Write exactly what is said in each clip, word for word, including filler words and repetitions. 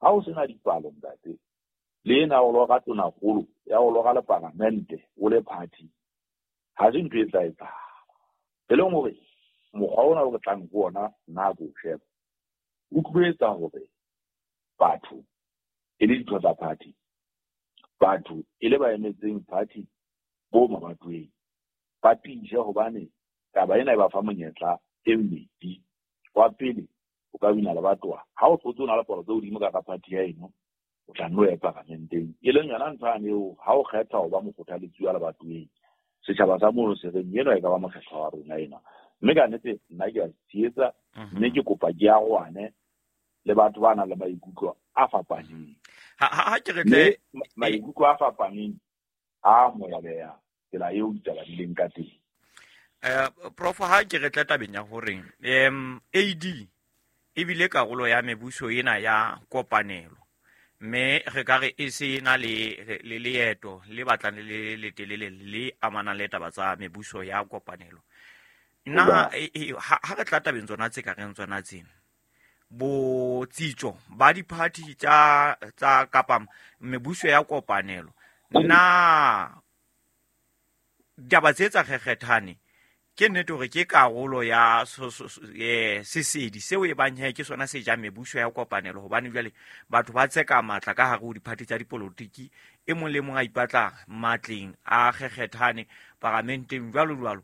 Ha o sena dipalo ntate, le ena o loka tonakgolo ya o loka le paramente o le party, ha se ntho e tla etsahala. E leng hore mokgwa ona o re tlang ho ona nna ko o sheba, o tlo etsa hore batho e le ditho tsa party, batho e le ba emetseng party bo mabatoweng ba tiise, hobane taba ena e ba fa monyetla e mmedi. Wa pele, o ka wina lebatowa ha o hlotse o na le palo tse hodimo ka ka party ya eno, o tla nno ya paramenteng, e leng yona ntho yane eo ha o kgetha ho ba mokgothaletsi wa lebatoweng, setjhaba sa mono se reng eno e ka ba mokgethwa wa rona ena. Mme ka nnete nna ke a tshehetsa, mme ke kopa ke arohane le batho ba nang le maikutlo a fapaneng. Ha ha ke re tle maikutlo a fapaneng a amoheleha tsela eo ditaba di leng ka teng. Eh Prof, ha ke re tle tabeng ya hore em A D e bile karolo ya mebuso ena ya kopanelo, mme re ka re e se na le le leeto le batlang le le telele le amanang le taba tsa mebuso ya kopanelo. Nna ha re tla tabeng tsona tse ka reng tsona tsena, botsitso ba di-party tsa tsa kapa mebuso ya kopanelo, nna ditaba tse tsa kgekgethane ke nnete hore ke karolo ya sesedi seo e bang he ke sona se jang mebuso ya kopanelo, hobane jwale batho ba tseka matla ka hare ho diphathi tsa dipolotiki, e mong le mong a ipatla matleng a kgekgethane paramenteng jwalo jwalo,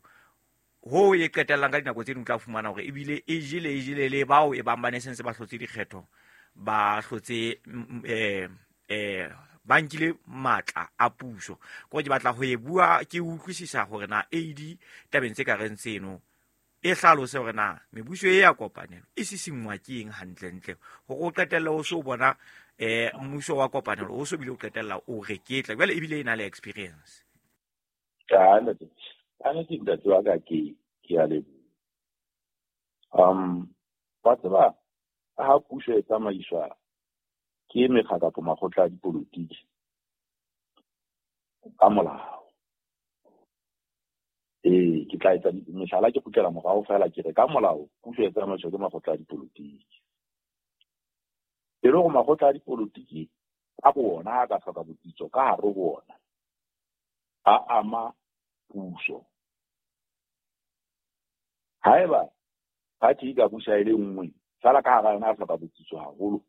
ho e qetellang ka dinako tse ding o tla fumana hore ebile e jele e jele le bao e bang ba ne sentse ba hlotse dikgetho, ba hlotse eh eh ba nkile matla a puso. Ko ke batla ho e bua ke utlwisisa hore na A D tabeng tse ka reng tseno e hlalose hore na mebuso e ya kopanelo e sisingwa ke eng hantlentle, hore o qetelle o so bona eh mmuso wa kopanelo o so bile o qetella o reketla jwale ebile e na le experience. Ka nete ka nete ntate wa ka ke ke a leboha. Um wa tseba ha puso e tsamaiswa ke mekga kapa makgotla a dipolotiki ka molao, ee ke tla etsa mehlala ke kgutlela morao fela ke re ka molao puso e tsamaiswa ke makgotla a dipolotiki. E le hore makgotla a dipolotiki ka bo ona a ka hloka botsitso ka hare ho ona, a ama puso. Haeba party e ka busa e le nngwe fela ka hara yona a hloka botsitso haholo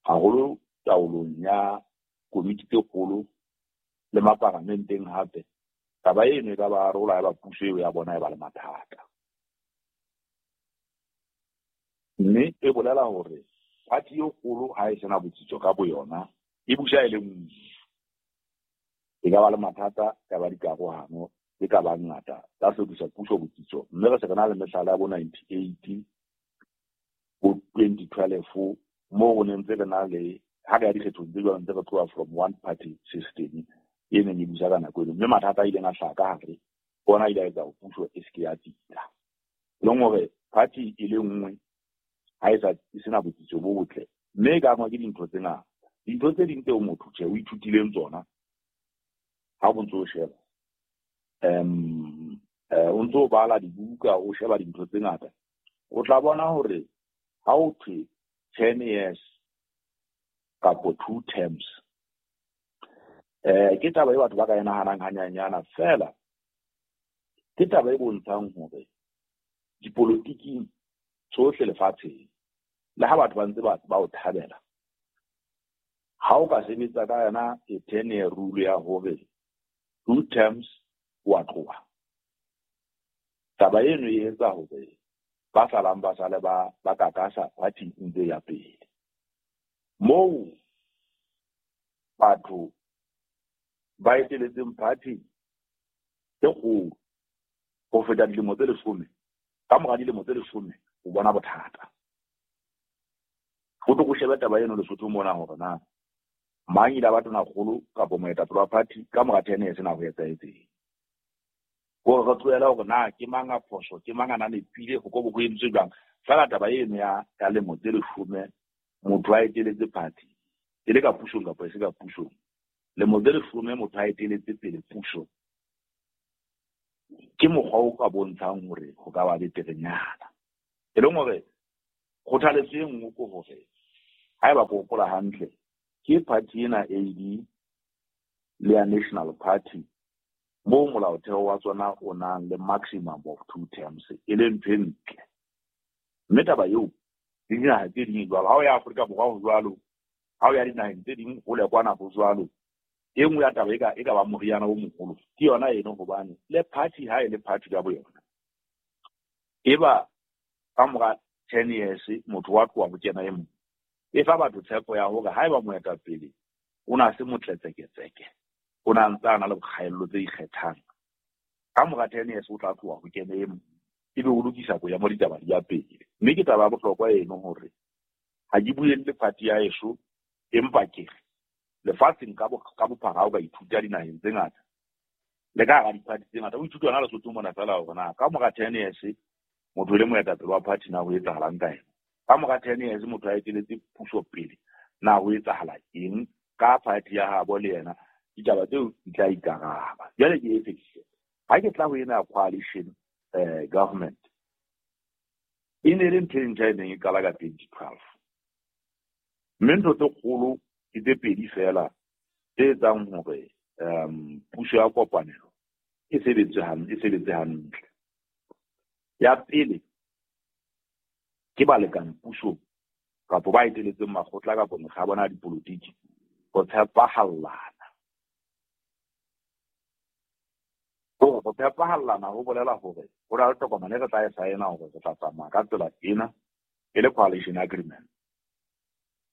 haholo taolong ya komiti tse kgolo le maparamenteng hape, taba eno e ka ba arola ya ba puso eo ya bona e ba le mathata. Mme e bolela hore party e kgolo ha e sena botsitso ka boyona, e busa e le nngwe, e ka ba le mathata, ya ba dikarohano tse ka bang ngata tsa hlokisa puso botsitso. Mme re se re na le mehlala ya bo ninety-eight, bo twenty twelve, moo re ne ntse re na le ha re ya dikgethong tse jwalo ntse re tloha from one party system e neng e busa ka nako eno, mme mathata a ileng a hlaha ka hare ona a ile a etsa hore puso e se ke ya tsitsa. E leng hore party e le nngwe ha e sa e sena botsitso bo botle, mme e ka angwa ke dintho tse ngata. Dintho tse ding tseo motho tjhe o ithutileng tsona ha o ntso o sheba, um o ntso o bala dibuka, o sheba dintho tse ngata, o tla bona hore ha o thwe ten years kapo two terms, eh ke taba e batho ba ka e nahanang hanyanyana fela, ke taba e bontshang hore dipolotiking tsohle lefatsheng, le ha batho ba ntse ba ba o thabela, ha o ka sebetsa ka yona e ten year rule ya hore two terms wa tloha, taba eno e etsa hore ba salang ba sale ba ba kakasa party ntse ya pele. Moo batho ba eteletseng party e kgolo ho feta dilemo tse leshome, ka mora dilemo tse leshome o bona bothata. Ho tlo go shebe taba eno Lesotho mona hore na mang ile a ba tonakgolo kapa moetapele wa party ka mora ten years na ho etsahetseng. Hore re tlohele hore na ke mang a phoso, ke mang a na nepile, ho ko bo ho entswe jwang. Fela taba eno ya ya lemo tse leshome motho a eteletse party e le ka pusong kapa e se ka pusong, lemo tse leshome motho a eteletse pele puso, ke mokgwa o ka bontshang hore ho ka ba beterenyana. E leng hore kgothaletso e nngwe ke hore Haeba ke hopola hantle, ke party ena A D le ya National Party moo molaotheo wa tsona o nang le maximum of two terms, e leng ntho e ntle. Mme taba eo le dinaha tse ding jwalo, ha o ya Afrika Borwa ho jwalo, ha o ya dinaheng tse ding hole kwana ho jwalo. E nngwe ya taba e ka e ka ba moriana o moholo ke yona eno, hobane le party ha e le party ka boyona e ba ka mora ten years motho wa tloha ho kena e mong. E fa batho tshepo ya hore haeba moetapele o na se motletseketseke, o na ntse a na le bokgaello tse ikgethang, ka mora ten years o tla tloha ho kena e mong, ebe o lokisa boemo ditaba di ya pele. Mme ke taba ya bohlokwa eno hore ha ke buelle party ya heso, empa ke re lefatsheng ka ka bophara o ka ithuta dinaheng tse ngata le ka hara di-party tse ngata, o ithuta yona Lesotho mona feela hore na ka mora ten years motho e le moetapele wa party na ho etsahalang ka ena, ka mora ten years motho a eteletse puso pele na ho etsahala eng ka party ya habo le yena, ditaba tseo di tla ikaraba. Jwale ke e fedise ha ke tla ho ena coalition eh, government e ne le ntho e ntjha e neng e qala ka twenty twelve, mme ntho tse kgolo ke tse pedi feela tse etsang hore um puso ya kopanelo e sebetse hantle, e sebetse hantle. Ya pele ke balekane pusong kapa ba eteletseng makgotla kapa mekga ya bona ya dipolotiki ho tshepahallana. Hore ho tshepahallana ho bolela hore ho na le tokomane e re tla e saena hore re tla tsamaya ka tsela ena e le coalition agreement.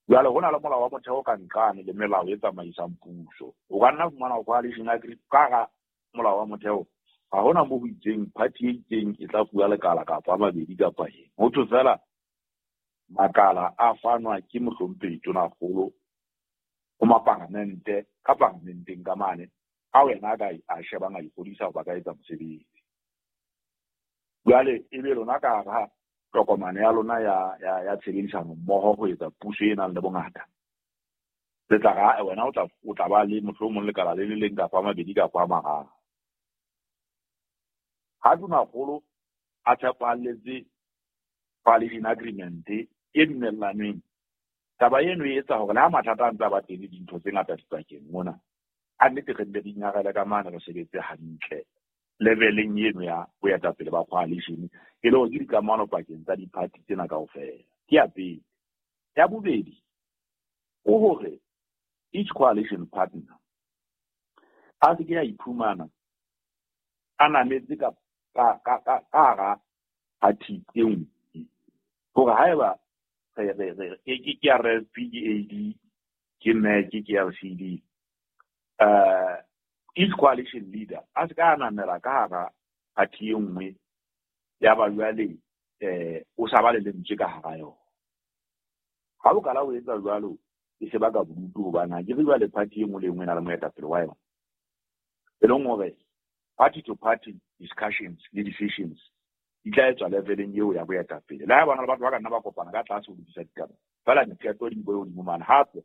Jwale ho na le molao wa motheo ka nqane le melao e tsamaisang puso. O ka nna fumana coalition agreement ka hara molao wa motheo, ha hona moo ho itseng party e itseng e tla fuwa lekala kapa a mabedi kapa eng. Ho thwe feela makala a fanwa ke mohlomphehi Tonakgolo ho mapalamente ka palamenteng ka mane, a wena a ka a shebang a ikgodisa hoba ka etsa mosebetsi. Jwale ebe lona ka hara tokomane ya lona ya ya ya tshebedisano mmoho ho etsa puso e nang le bongata, le tla ra wena o tla o tla ba le mohlomong lekala le le leng kapa a mabedi kapa a mararo. Ha Tonakgolo a tshepahalletse coalition agreement e dumellanweng, taba eno e etsa hore le ha mathata a ntse a ba teng le dintho tse ngata dipakeng mona, a nnete re nne re ingarele ka mane re sebetse hantle leveleng eno ya boetapele ba coalition, e le hore ke dikamano pakeng tsa di-party tsena kaofela. Ke ya pele. Ya bobedi ke hore each coalition partner a se ke ya iphumana a nametse ka ka ka ka hara party e nngwe. Hore haeba re re re ke ke R S P, ke A D, ke M E C, ke L C D, uh, each coalition leader a se ka namela ka hara party e nngwe ya ba jwale eh o sa ba le lentswe ka hara yona. Ha o kala o etsa jwalo e se baka bodutu, hobane ha ke re jwale party e nngwe le e nngwe e na le moetapele wa yona. E leng hore party to party discussions le decisions di tla etswa leveleng eo ya boetapele. Le ha bana le batho ba ka nna ba kopana ka tlase ho lokisa ditaba, feela diqeto di bo hodimo mane. Hape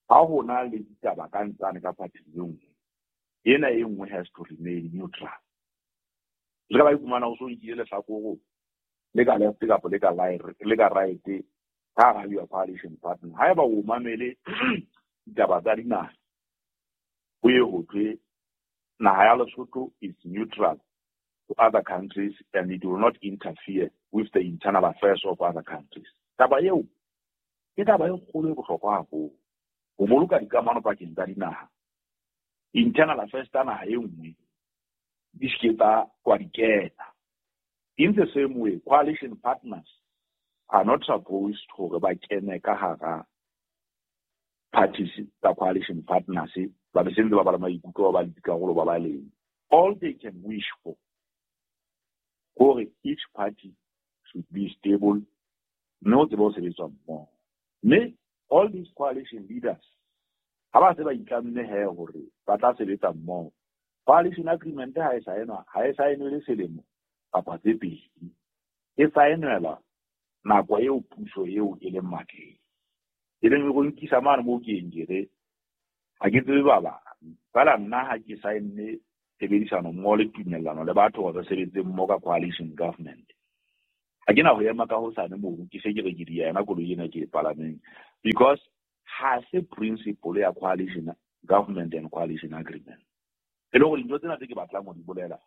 ha ho na le ditaba ka ntsane ka party e nngwe, ena e nngwe has to remain neutral. Le ka ba iphumana o so nkile lehlakore le ka left kapa le ka le ka right ka hara your coalition partner. Haeba o mamele ditaba tsa dinaha, ho ye ho thwe naha ya Lesotho is neutral to other countries and it will not interfere with the internal affairs of other countries. Taba eo ke taba e kgolo e bohlokwa haholo ho boloka dikamano pakeng tsa dinaha. Internal affairs tsa naha e nngwe di se ke tsa kwa di kena. In the same way, coalition partners are not supposed hore ba kene ka hara parties tsa coalition partners ba be sentse ba ba le maikutlo ba ba le dikarolo ba ba leng. All they can wish for hore each party should be stable, mme ho tsebe ho sebetswa mmoho. Mme all these coalition leaders ha ba se ba itlamme he hore ba tla sebetsa mmoho, coalition agreement ha e saenwa, ha e saenwe le selemo kapa tse pedi, e saenwela nako eo puso eo e leng matleng. E leng go nkisa mane moo ke eng ke re ha ke tsebe ba bang, feela nna ha ke saenne tshebedisano mmoho le tumellano le batho hore re sebetse mmoho ka coalition government, Ha ke na ho ema ka hosane mono ke se ke re ke di yena koloi ena ke e palameng, because ha se principle ya coalition government and coalition agreement. E le hore dintho tsena tse ke batlang ho di bolela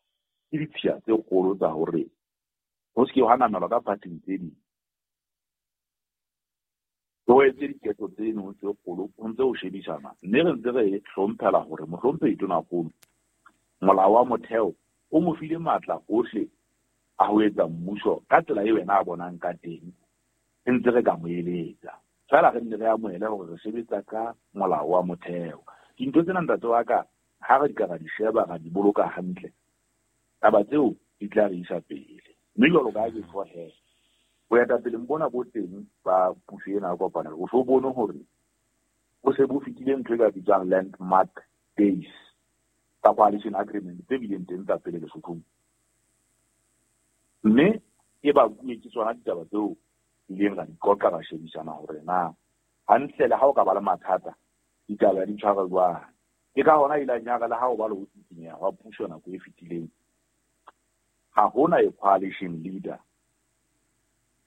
ke ditshiya tse kgolo tsa hore ho se ke ha namelwa ka parting tse ding. Ho etse diketso tseno tse kgolo ho ntse ho shebisana, mme re ntse re hlomphela hore mohlomphehi Tonakgolo molao wa motheo o mo file matla ohle a ho etsa mmuso ka tsela eo yena a bonang ka teng, e ntse re ka mo eletsa. Feela re nne re amohele hore re sebetsa ka molao wa motheo. Dintho tsena ntate wa ka ha re di ka ra di sheba ra di boloka hantle, taba tseo di tla re isa pele. Mme jwalo ka ha ke tjho he, boetapeleng bona bo teng ba puso ena ya kopanelo, o so bone hore o se bo fetile ntho e ka bitswang landmark days tsa coalition agreement tse bileng teng tsa pele Lesothong. Mme e bakuwe ke tsona ditaba tseo ileng ra di qoqa ra shebisana hore na hantle le ha o ka ba le mathata ditaba di tshwara jwang. Ke ka hona ileng ya re le ha o ba le ho tsikinyeha hwa puso nako e fetileng, ha hona e coalition leader,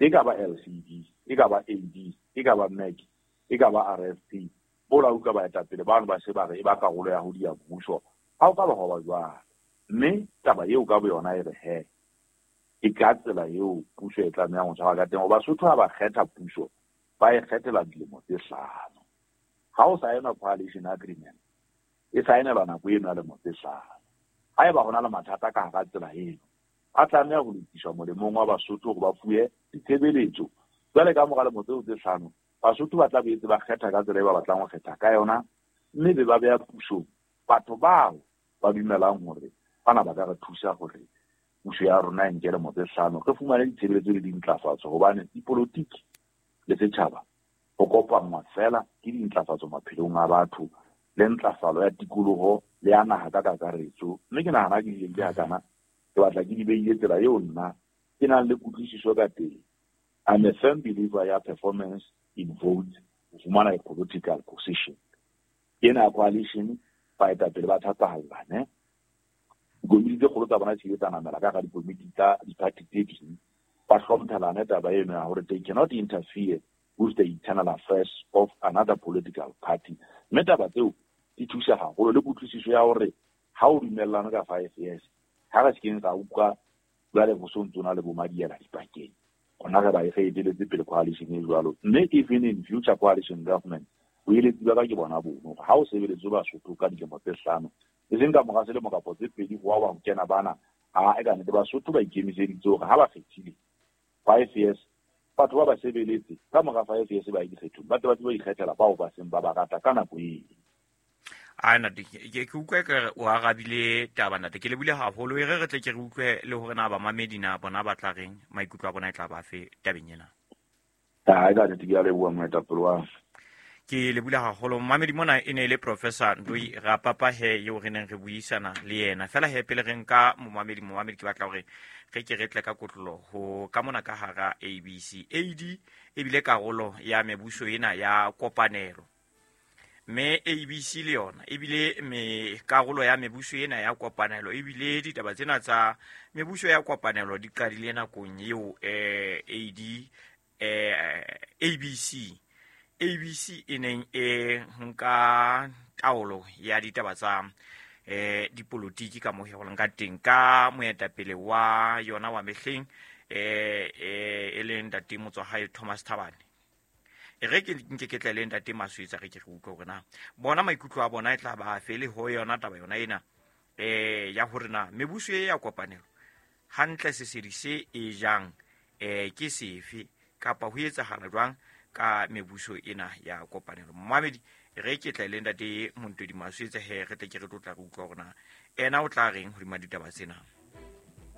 e ka ba L C D, e ka ba A D, e ka ba M E C, e ka ba R F P, bola utlwa baetapele bano ba se ba re e ba karolo ya ho dia mmuso, ha o ka ba ho ba jwalo. Mme taba eo ka boyona e re he, e ka tsela eo puso e tlamehang ho tshwara ka teng. Hoba Basotho ha ba kgetha puso, ba e kgethela dilemo tse hlano. Ha o saena coalition agreement, e saenelwa nako eno ya lemo tse hlano. Haeba ho na le mathata ka hara tsela eno, a tlameha ho lokiswa molemong wa Basotho hore ba fuwe ditshebeletso. Jwale ka mora lemo tseo tse hlano, Basotho ba tla boetse ba kgetha ka tsela e ba batlang ho kgetha ka yona, mme be ba beha pusong batho bao ba dumelang hore bana ba ka re thusa hore puso ya rona e nke lemo tse hlano, re fumane ditshebeletso le dintlafatso. Hobane dipolotiki le setjhaba ho kopanngwa feela ke dintlafatso maphelong a batho le ntlafalo ya tikoloho le ya naha ka kakaretso. Mme ke nahana ke dileng tse hakana, ke batla ke di beile tsela eo nna ke nang le kutlwisiso ka teng. I'm a firm believer ya performance in votes ho fumana a political position. Ena coalition baetapele ba thapahallane, dikomiti tse kgolo tsa bona di tsa namela ka hara dikomiti tsa di-party tse ding, ba hlomphelane taba eno ya hore they cannot interfere with the internal affairs of another political party. Mme taba tseo di thusa haholo le kutlwisiso ya hore ha o dumellane ka five years, ha re se keng ra utlwa jwale ho so ntso na le bo madiela dipakeng. Rona re ba e re eteletse pele coalition e jwalo. Mme even in future coalition government, boeletsi ba ka ke bona bono hore ha o sebeletse Basotho ka dilemo tse hlano, e seng ka mora selemo kapa tse pedi ho wa ho kena bana, ha e ka nnete Basotho ba ikemiseditse hore ha ba kgethile five years, batho ba ba sebeletse ka mora five years ba ye dikgethong, ba tle ba tsebe ho ikgethela bao ba seng ba ba rata ka nako eo. A ntate, ke ke utlwe ke re o arabile taba ntate, ke lebohile haholo. E re re tle ke re utlwe le hore na bamamedi na bona ba tla reng, maikutlo a bona e tla ba fe tabeng ena. Ha e ka nnete ke a leboha moetapele wa Ke lebohile haholo. Mamedi mona e ne e le Professor Ndoi Rapapa he eo re neng re buisana le yena. Feela he pele re nka momamedi, momamedi ke batla hore re ke re tle ka kotlolo ho ka mona ka hara A B C. A D ebile karolo ya mebuso ena ya kopanelo. Mme A B C le yona ebile me karolo ya mebuso ena ya kopanelo, ebile ditaba tsena tsa mebuso ya kopanelo di qadile nakong eo eh, A D eh, A B C A B C e neng e nka taolo ya ditaba tsa eh dipolotiki ka mo ho ka teng ka moetapele wa yona wa mehleng eh e leng ntate Motswahae Thomas Thabane. E re ke nke ke tle le ntate Maswetsa re ke re utlwe hore na bona maikutlo a bona e tla ba fe le ho yona taba yona ena eh ya hore na mebuso e ya kopanelo hantle sesedi se e jang eh ke sefe kapa ho etsahala jwang ka mebuso ena ya kopanelo. Momamedi re ke tle le ntate Montodi Maswetsa he re tle ke re tlotla re utlwa hore na ena o tla reng hodima ditaba tsena.